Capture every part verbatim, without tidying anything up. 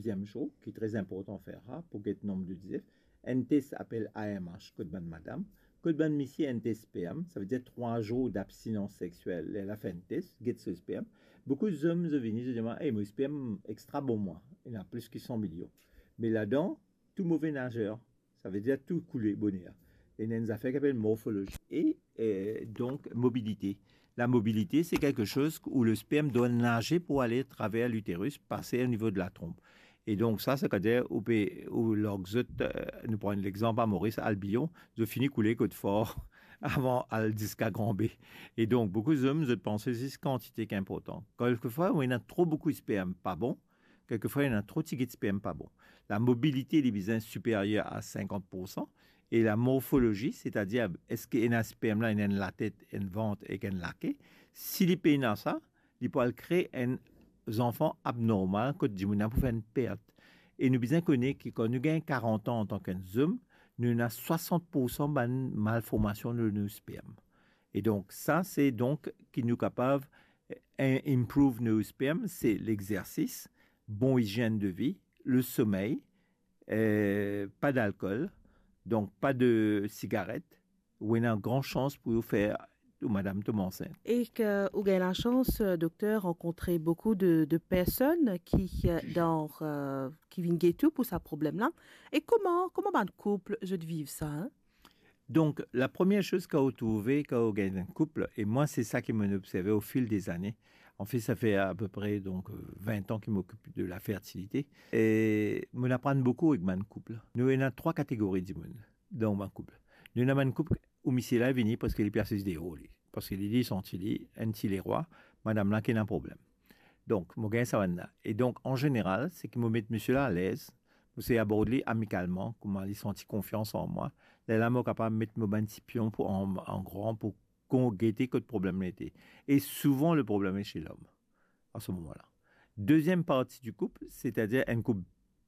Deziem zour, ki tre inportan fer sa, pou get nom de dizef, enn tes apel A M H kot bann madam, kot bann misie enn tes sperm, savedir trwa zour dabstinans seksiel, ler la fer enn tes, get so sperm. Boukou zom, zot vini, zot dir mwa, "Ey, mo sperm extra bon mwa, ena plis ki san milion." Me ladan, tou move nazer, savedir tou koule boner. Ena enn zafer ki apel morfolozi e, eh, donk, mobilite. La mobilite, se kelke soz ou le sperm dwa naze pou ale atraver literis, pase o nivo de la tronp. E donk sa, setadir, ou pe, ou larg zot, eh, nou pran lexanp a Moris, albion, zot fini koule kot for avan al ziska gran be. E donk, boukou zom, zot panse zis kantite ki inportan. Kelkefwa, ou ena tro boukou sperm pa bon, kelkefwa, ena tro tigit sperm pa bon. La mobilite, li bizin siperyer a sinkant poursan, e la morfolozi, setadir, eski ena sperm la, ena enn latet, enn vant ek enn lake, si li pena sa, li pou al kre enn zanfan abnormal kot dimoun la pou fer enn pert. E nou bizin kone ki kan nou gagn karant an antan ki enn zom, nou ena swasant poursan bann malformasion lor nou sperm. E donk, sa, se donk ki nou kapav, eh, improve nou sperm, se lexersis, bon izienn de vi, le somey, eh, pa dalkol, donk pa de sigaret, ou ena gran sans pou ou fer ou madam tom ansint. E ki ou gagn lasans, eh, dokter, rankontre boukou de, de personn ki, eh, dan, eh, ki vinn get ou pou sa problem la. E kouma, kouma bann koup zot viv sa, hein? Donk, la premie soz ki ou trouve kan ou gagn enn koup, e mwa, se sa ki mo observe o fil dezane. Anfet, sa fer apepre, donk, eh, vin an ki mo okip de la fertilite. E mo aprann boukou ek bann koup. Nou ena trwa kategori dimoun dan bann koup. Nou ena bann koup ou misie la vini parski li pe asiz deor li. Parski li, li santi li enn ti lerwa, madam la ki ena problem. Donk, mo gagn sa bann la. E donk, an zeneral, se ki mo met misie la alez, mo sey abord li amikalman, kouma li santi konfians an mwa. Lerla mo kapav met mo bann ti pion pou an, an gran, pou kon-, gete kot problem la ete. E souvan, le problem est chez l'homme, à ce moment-là. Deziem parti di koup, setadir enn koup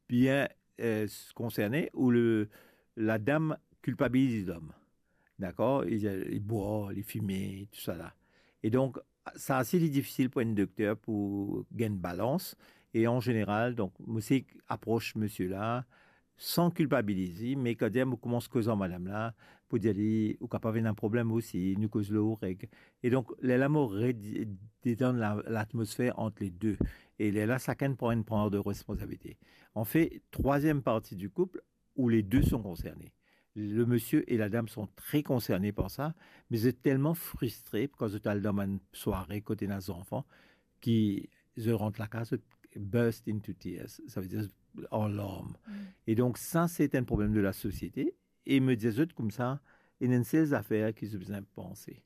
bien, eh, konserne, ou le, ladam kilpabiliz lom. Dakor? Li, li bwar, li fime, tousala. E donk, sa osi, li difisil pou enn dokter pou gagn balans. E an zeneral, donk, mo sey apros misie la, san kilpabiliz li, me kan dir mo koumans koz ar madam la, pou dir li, ou kapav ena problem osi, nou koz lor ou reg. E donk, lerla mo re-, detann la, latmosfer ant le de. E lerla, sakenn pran enn par de responsabilite. Anfet, trwaziem parti di koup, où les deux sont concernés. Le monsieur et la dame sont très concernés par ça, me zot telman fristre kan zot al dan bann sware kot ena zanfan, ki zot rant lakaz, zot burst into tears, savedir an larm. Mm. E donk, sa, se enn problem de lasosiete. E mo dir zot koumsa, ena enn sel zafer ki zot bizin panse.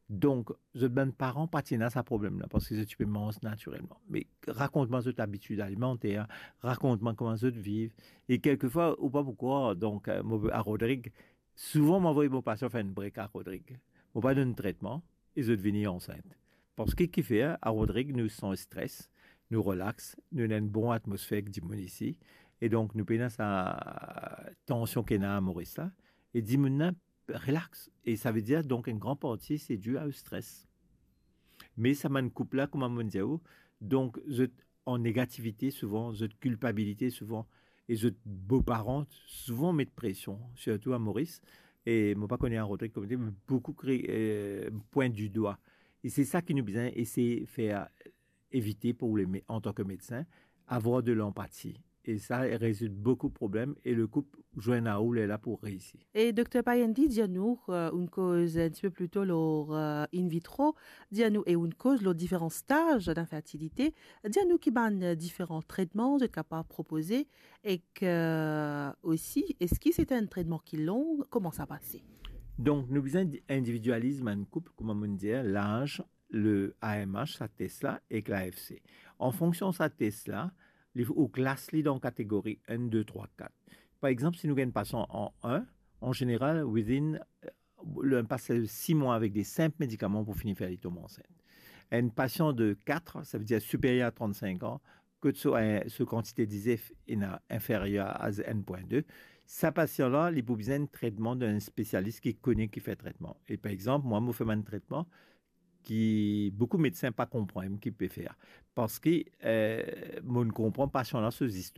Donk, zot bann paran pa ti ena sa problem la, parski zot ti pe manz natirelman. Me rakont mwa zot labitid alimanter, rakont mwa kouma zot viv. E kelkefwa, ou pa pou krwar, donk, eh, mo, a Rodrig, souvan mo avoy mo pasian fer enn break a Rodrig. Mo pa donn tretman, e zot vini ansint. Parski ki fer, a Rodrig, nou san stres, nou relax, nou ena enn bon atmosfer ek dimoun isi, e donk nou pena sa tansion ki ena a Moris la, e dimoun la relax. E savedir, donk, enn gran parti, se due au stress. Me sa bann koup la, kouma mo dir ou, donk, zot an negativite souvan, zot kilpabilite souvan, e zot boparan souvan met presion, sirtou a Moris. E mo pa kone a Rodrig kouma, me boukou kri-, eh, pwint di dwa. E se sa ki nou bizin esey fer evite pou le me-, antan ki medsin, avoir de l'empathie. E sa rezoud boukou problem e le koup zwenn a ou lerla pou reisi. E dokter Payendi, dir nou, eh, ou'nn koz enn tipe pli to lor, eh, in vitro, dir nou, e ou'nn koz lor diferan staz dan fertilite, dir nou ki bann, eh, diferan tretman zot kapav propoze, ek, eh, osi, eski se enn tretman ki long, kouma sa pase? Donk, nou bizin di-, individializ bann koup, kouma mo'nn dir, laz, le A M H, sa tes la, ek la F C. An fonksion sa tes la, li, ou klas li dan kategori enn, de, trwa, kat. Par exanp, si nou gagn pasian an enn, an zeneral, within, eh, li pas sis mwa avek de sinp medikaman pou fini fer li tom ansint. Enn pasian de kat, savedir siperyer a trant-sink an, kot so, eh, so kantite dizef ena inferyer a enn pwin de, sa pasian la, li pou bizin tretman dan enn spesialis ki kone ki fer tretman. E par exanp, mwa, mo fer bann tretman ki boukou medsin pa konpran ki pe fer. Parski, eh, mo'nn konpran pasian la so zistwar